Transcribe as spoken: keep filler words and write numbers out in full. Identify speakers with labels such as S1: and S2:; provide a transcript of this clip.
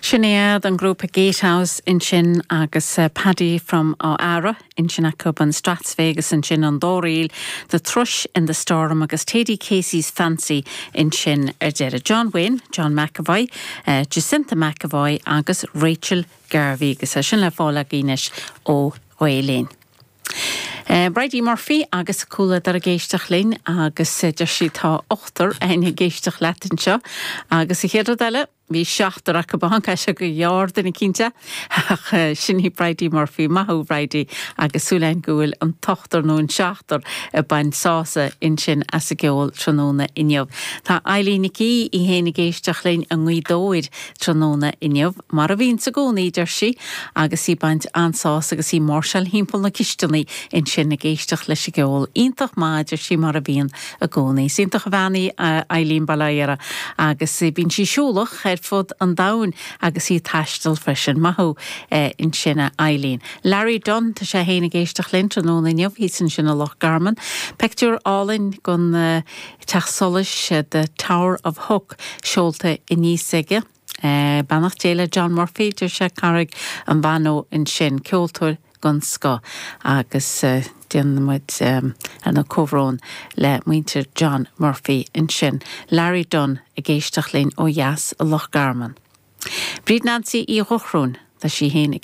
S1: Sin iad an grúpa Gatehouse ansin agus uh, Paddy from Ára ansin acu an Strathspey ansin an Dóiríl, The Thrush in the Storm agus Teddy Casey's Fancy ansin ar deireadh. John Wynne, John McAvoy, uh, Jacinta McAvoy agus Rachel Garvey agus é sin le fáil againn ó Ghaelainn. Uh, Bridie Murphy agus cúla dar ag éisteacht linn agus uh, deir sí tá ochtar ag éisteacht leat anseo agus a chéad eile bhí seachtar acu ban se go dheardanna cinnte ach sin í Bridie Murphy maith thú Bridie agus súil agam go bhfuil an t-ochtar nó an seachtar ag baint sásamh ansin as an gceol tráthnóna inniu. Tá Eileen Nic í í héin ag éisteacht linn i nGaoth Dobhair tráthnóna inniu, mar a bhíonn i gcónaí deir sí agus í ag baint an-sásamh agus í ag máirseáil timpeall na cisteanaí ansin ag éisteacht leis an gceol. Iontach maith deir sí mar a bhíonn i gcónaí. Iontach a bhean í Eileen Balayera agus bíonn sí siúlach ar fud an domhain agus í ag taisteal freisin maith thú ansin a Eileen. Larry Dunn tá sé héin ag éisteacht linn tráthnóna inniu hí sin sin a Loch Garman. Pictiúr álainn den uh, teach solais uh, the Tower of Hook seolta aníos aige. Uh, Beannacht Dé le John Murphy deir sé Carraig an Bhanó ansin ceoltóir den scoth agus uh, déanaimid um, an comhbhrón le muintir John Murphy ansin. Larry Dunn ag éisteacht linn ó dheas i Loch Garman. Bríd Nancy í Dhochróin tá sí héin ag